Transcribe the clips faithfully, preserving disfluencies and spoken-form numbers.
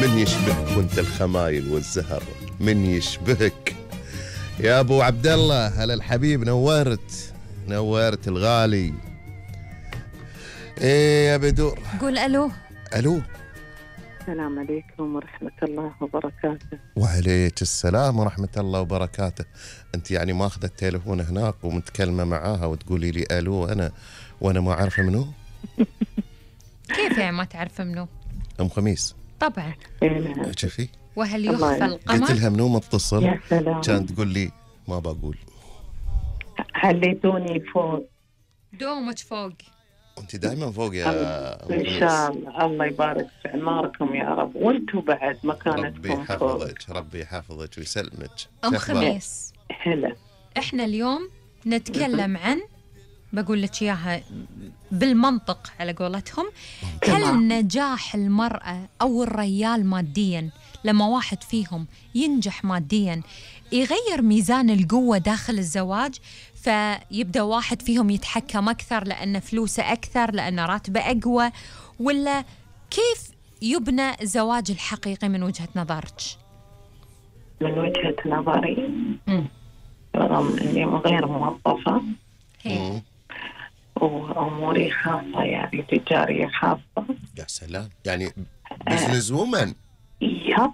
من يشبهك وانت الخمايل والزهر، من يشبهك يا ابو عبد الله. هلا الحبيب، نورت نورت الغالي. ايه يا بدور، قول الو. الو. السلام عليكم ورحمة الله وبركاته. وعليك السلام ورحمة الله وبركاته. انت يعني ماخذة التليفون هناك ومتكلمة معاها وتقولي لي الو انا وانا ما عارفة منو؟ كيف يعني ما تعرف منو؟ ام خميس طبعا. شوفي، وهل يخفى القمر؟ قلت لها منو متصل؟ يا سلام. كانت تقول لي ما بقول. خليتوني فوق. دومك فوق. انت دائما فوق يا ام ان خميس. شاء الله، الله يبارك في اعماركم يا رب، وانتم بعد مكانتكم ربي فوق. يحفظك، ربي يحفظك ويسلمك. ام خميس، هلا. احنا اليوم نتكلم عن، بقول لك اياها بالمنطق على قولتهم، هل نجاح المرأة او الرجال ماديا، لما واحد فيهم ينجح ماديا يغير ميزان القوة داخل الزواج، فيبدأ واحد فيهم يتحكم أكثر لأن فلوسه أكثر، لأن راتبه أقوى، ولا كيف يبنى الزواج الحقيقي من وجهة نظرك؟ من وجهة نظري رغم اني غير موظفة هي. واموري خاصة، يعني تجارية خاصة. يا سلام، يعني بزنس وومن. يب.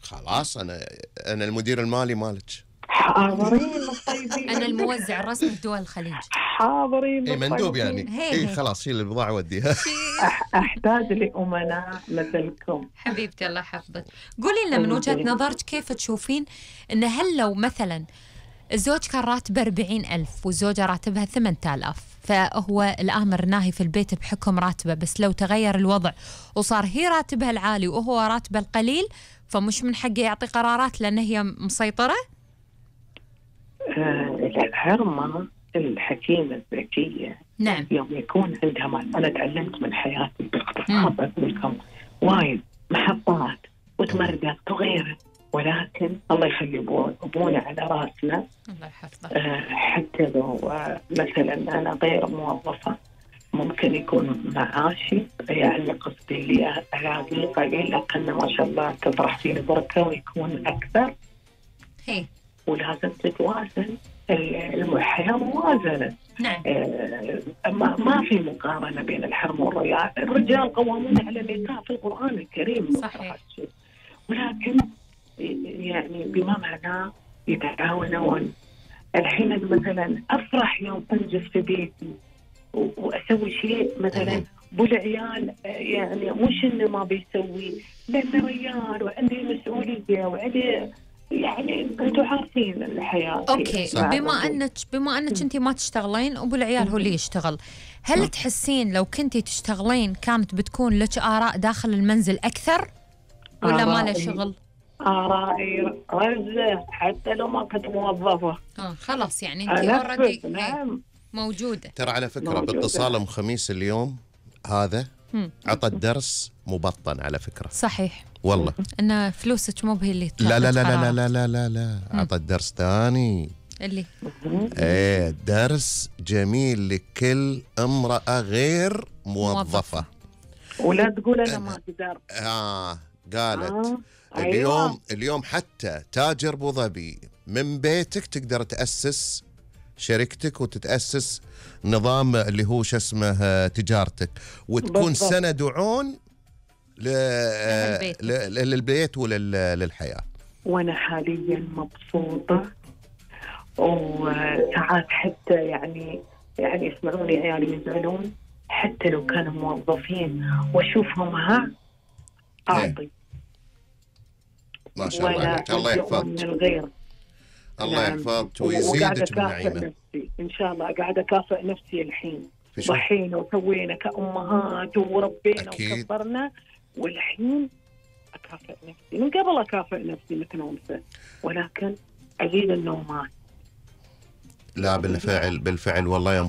خلاص انا انا المدير المالي مالك. حاضرين طيبين. أنا الموزع الرسمي في دول الخليج. حاضرين. اي مندوب يعني. هي اي هي. خلاص شيل البضاعة وديها. أح- احتاج لأمناء مثلكم. حبيبتي الله يحفظك. قولي لنا من وجهة نظرك كيف تشوفين إن هل لو مثلا الزوج كان راتبه أربعين ألف والزوجة راتبها ثمانية آلاف، فهو الآمر ناهي في البيت بحكم راتبه، بس لو تغير الوضع وصار هي راتبها العالي وهو راتبه القليل، فمش من حقه يعطي قرارات لأن هي مسيطرة؟ آه الحرمة الحكيمة الذكية، نعم. يوم يكون عندها مال. أنا تعلمت من حياتي باختصار أقول لكم وايد محطات وتمردات وغيره، ولكن الله يخلي أبونا على راسنا. الله يحفظه. آه حتى لو آه مثلا أنا غير موظفة، ممكن يكون معاشي يعني قصدي لي ألاقي قليل، لكن ما شاء الله تطرح فيه البركة ويكون أكثر. هي. ولازم تتوازن الحياة موازنة. نعم. آه ما, ما في مقارنة بين الحرم والرجال. الرجال قوامون على النساء في القرآن الكريم. صحيح. ولكن يعني بما معناه يتعاونون. الحين مثلا أفرح يوم أنجز في بيتي وأسوي شيء مثلا بالعيال، يعني مش إنه ما بيسوي، لأنه رجال وعندي مسؤولية وعندي، يعني انتم عارفين الحياه. اوكي. بما انك بما انك انت ما تشتغلين وابو العيال هو اللي يشتغل، هل تحسين لو كنتي تشتغلين كانت بتكون لك آراء داخل المنزل اكثر ولا ما له شغل؟ آرائي رزة حتى لو ما كنت موظفة. اه خلاص، يعني انت اوريدي نعم موجودة. ترى على فكرة باتصال ام خميس اليوم هذا عطى الدرس مبطن على فكرة. صحيح والله ان فلوسك مو بهي اللي لا لا لا لا لا لا لا لا عطى الدرس ثاني اللي ايه درس جميل لكل امرأة غير موظفة. ولا تقول انا ما اقدر. اه قالت آه. اليوم أيوة. اليوم حتى تاجر ابو ظبي من بيتك تقدر تأسس شركتك وتتأسس نظام اللي هو شو اسمه تجارتك، وتكون بالضبط. سند وعون للبيت وللحياة. وانا حاليا مبسوطة، وساعات حتى يعني يعني يسمعوني عيالي يزعلون حتى لو كانوا موظفين واشوفهم ها اعطي. ما شاء الله عليك، الله يحفظك. الغير. الله يحفظك ويزيدك من نعيمه. ان شاء الله قاعده اكافئ نفسي الحين. ضحينا وسوينا كأمهات وربينا وكبرنا، والحين اكافئ نفسي. من قبل اكافئ نفسي مثل انثى، ولكن ازيد النومات. لا بالفعل بالفعل والله يا